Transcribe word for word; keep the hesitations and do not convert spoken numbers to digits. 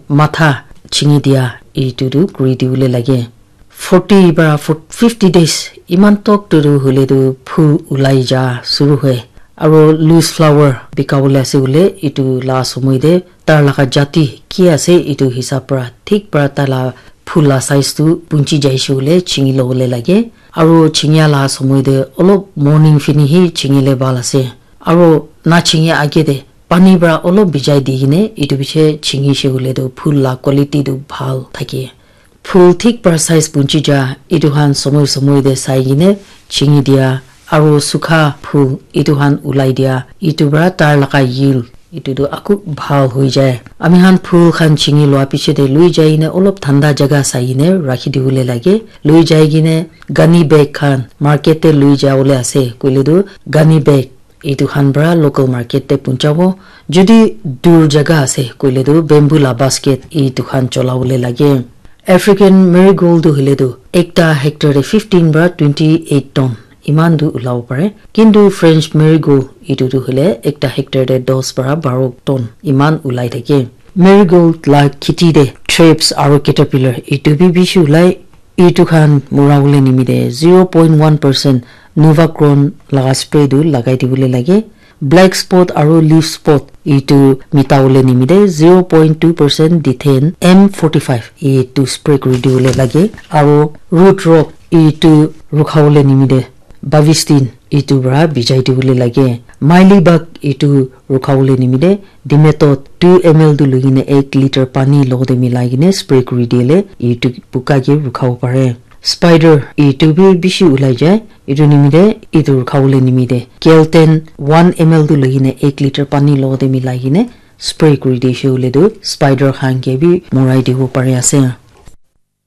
matha chingi dia itu tu kuri dibole lage. Forty para fifty days iman tok tu tu hoile tu phul ulai ja suru hoi. Aro loose flower bika bole ase hoile itu la somoi te tar laga jati ki ase itu hisab para thik para tai la phul la size tu punchi jaise hoile chingi lobole lage. Aro chingia la somoi te olop morning fini hi chingile bhal ase. Aro na chingia age te pani para olop bijai di kine itu piche chingise hoile tu phul la quality tu bhal thake. Phul thik para size punchi ja itu khan somoi somoi te sai kine chingi dia aro sukha phul itu khan ulai dia itu para tar laga yield itu tu aku bhal hoi jai. Ami khan phul khan chingi lua piche te lui jai kine olop thanda jaga sai kine rakhi dibole lage. Lui jai kine ghani bag khan market te lui jabole ase koile tu ghani bag itu khan para local market te punchabo. Jodi dur jaga ase koile tu bamboo la basket itu khan cholabole lage. African marigold tu hoile tu ekta hectare te fifteen para twenty eight ton iman tu ulabo pare. Kintu French marigold itu tu hoile ekta hectare te dos para baro ton iman ulai thake. Marigold la kheti te thrips aro caterpillar itu bi bishi ulai. Itu khan mura bole nimite zero point one percent Novacron laga spray tu lagai dibole lage. Black spot aro leaf spot itu mita bole nimite zero point two percent Dithen M forty five itu spray kuri dibole lage. Aro root rot itu rukha bole nimite Bavistin itu para bijai dibole lage. Maili bag itu rukha bole nimite Dimethoate two M L tu lui kine ek liter pani logote milai kine spray kuri dile itu puka ke rukha bo pare. Spider itu bi bishi ulai jai. Itu nimite itu rukha bole nimite Kelten one M L tu lui kine ek liter pani logote milai kine spray kuri dise hoile tu spider khan ke bi morai dibo pari ase.